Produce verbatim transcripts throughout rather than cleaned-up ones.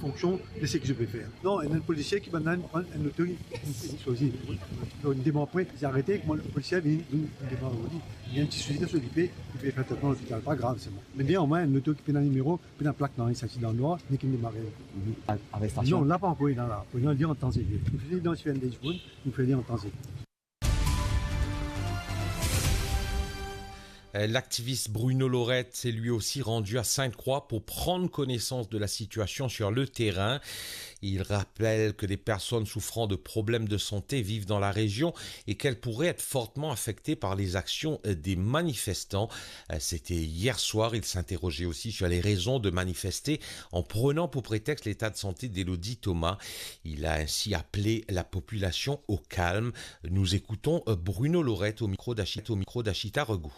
Fonction de ce que je peux faire. Non, enn polisie ki bann la pran enn loto, li swazir. Donk, li demar pwin, li arete, kouma polisie vinn, li, li demar li. Li ena enn ti sousi dan so lipe, li pe fer tretman lopital, pa grav, se bon. Me bien, omwin, enn loto ki pena nimero, pena plak, non, li sorti dan nwar, nek inn demare. Mhm. Ar-, arestasion? Non, la pa ankor, la, la. Pou nou dir an tan zedir. Nou fini idantifie enn de dimoun, nou fer li an tan zedir. Euh, l'activiste Bruno Lorette s'est lui aussi rendu à Sainte-Croix pour prendre connaissance de la situation sur le terrain. Il rappelle que des personnes souffrant de problèmes de santé vivent dans la région et qu'elles pourraient être fortement affectées par les actions, euh, des manifestants. Euh, c'était hier soir. Il s'interrogeait aussi sur les raisons de manifester en prenant pour prétexte l'état de santé d'Elodie Thomas. Il a ainsi appelé la population au calme. Nous écoutons, euh, Bruno Lorette au micro d'Achita, au micro d'Achita Regou.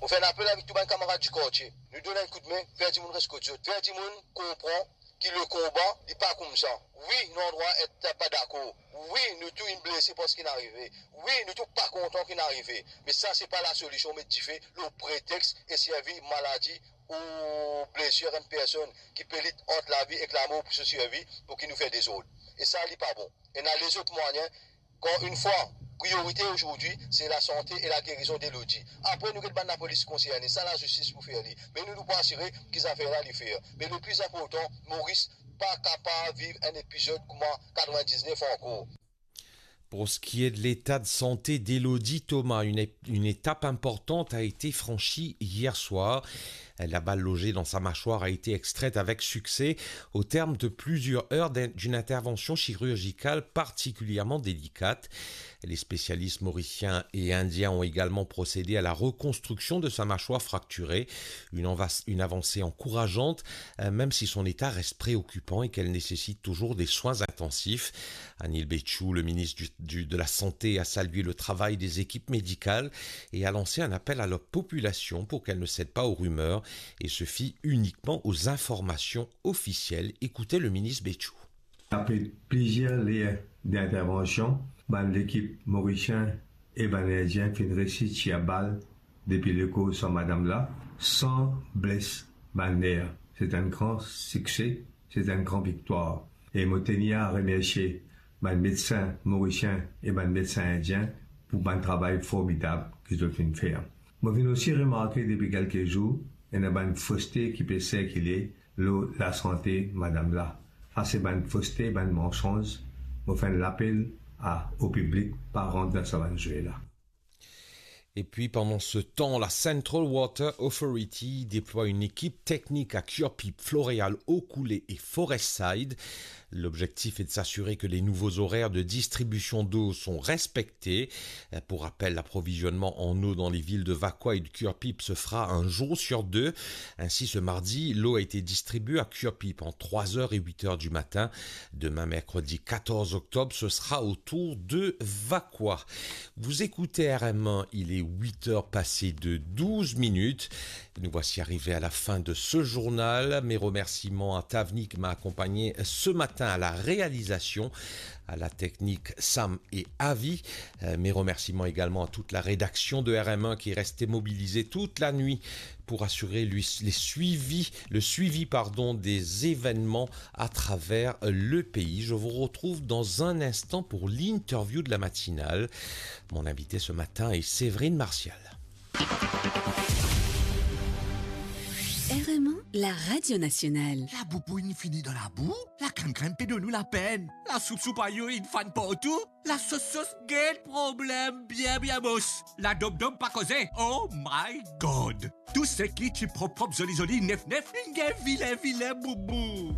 Mo fer enn apel avek tou bann kamarad di kartie. Nou donn enn koudme, fer dimoun res kot zot, fer dimoun konpran ki le konba, li pa koumsa. Wi, nou andrwa et pa dakor. Wi, nou tou inn blese par seki inn arive. Wi, nou tou pa kontan ki inn arive. Me sa, se pa lasolision, met dife lor pretex e servi maladi ou blesir enn personn ki pe lit ant lavi ek lamor pou so sirvi, pou ki nou fer dezord. E sa, li pa bon. Ena lezot mwayin, ankor enn fwa, priorite ozordi, se lasante e lagerizon de Elodie. Apre, nou get bann lapolis konserne, sa lazistis pou fer li. Me nou, nou pou asire ki zafer la, li fer. Me le pli inportan, Moris pa kapav viv enn epizod kouma katrevin-diznef ankor. Pour ce qui est de l'état de santé d'Elodie Thomas, une, une étape importante a été franchie hier soir. La balle logée dans sa mâchoire a été extraite avec succès au terme de plusieurs heures d'in-, d'une intervention chirurgicale particulièrement délicate. Les spécialistes mauriciens et indiens ont également procédé à la reconstruction de sa mâchoire fracturée. Une anva-, une avancée encourageante, euh, même si son état reste préoccupant et qu'elle nécessite toujours des soins intensifs. Anil Bechoo, le ministre du, du, de la Santé, a salué le travail des équipes médicales et a lancé un appel à la population pour qu'elle ne cède pas aux rumeurs et se fie uniquement aux informations officielles. Écoutez le ministre Bechoo. Apre plizier ler d'intervansion, bann lekip morisien e bann indien finn resi tir bal depi lekor sa madam la, san bles bann ner. Se enn gran sikse, se enn gran viktwar. E mo tenir a remersie bann medsin morisien e bann medsin indien pou bann travay formidab ki zot finn fer. Mo finn osi remarke depi kelke zour, ena bann foste ki pe sirkile lor lasante madam la. Sa se bann foste, bann mansonz. Mo fer enn lapel a, o piblik, pa rant dan sa bann zwe la. Et puis, pendant ce temps, la Central Water Authority déploie une équipe technique à Curepipe, Floréal, Eau Coulée et Forestside. L'objectif est de s'assurer que les nouveaux horaires de distribution d'eau sont respectés. Pour rappel, l'approvisionnement en eau dans les villes de Vacoas et de Curepipe se fera un jour sur deux. Ainsi, ce mardi, l'eau a été distribuée à Curepipe entre trois heures et huit heures du matin. Demain, mercredi quatorze octobre, ce sera au tour de Vacoas. Vous écoutez R M un, il est huit heures passées de douze minutes. Nous voici arrivés à la fin de ce journal. Mes remerciements à Tavni qui m'a accompagné ce matin à la réalisation, à la technique Sam et Avi. Euh, mes remerciements également à toute la rédaction de R M un qui est restée mobilisée toute la nuit pour assurer lui, les suivis, le suivi, pardon, des événements à travers le pays. Je vous retrouve dans un instant pour l'interview de la matinale. Mon invité ce matin est Séverine Martial. R M un, la radio nationale. Laboubou inn fini dan labou, lakrennkrenn pe donn nou lapenn, lasoupsoup ayo inn fann partou, lasosos, get problem, bien, bien mos, ladomdom pa koze. Oh my God! Tou seki ti prop prop, zoli zoli, nef nef, inn gagn vilin vilin boubou.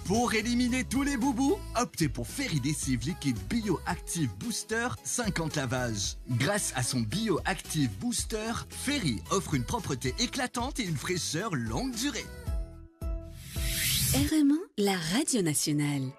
Pour éliminer tous les boubous, optez pour Ferry Lessive Liquide Bio Active Booster, cinquante lavages. Grâce à son Bio Active Booster, Ferry offre une propreté éclatante et une fraîcheur longue durée. R M un, la radio nationale.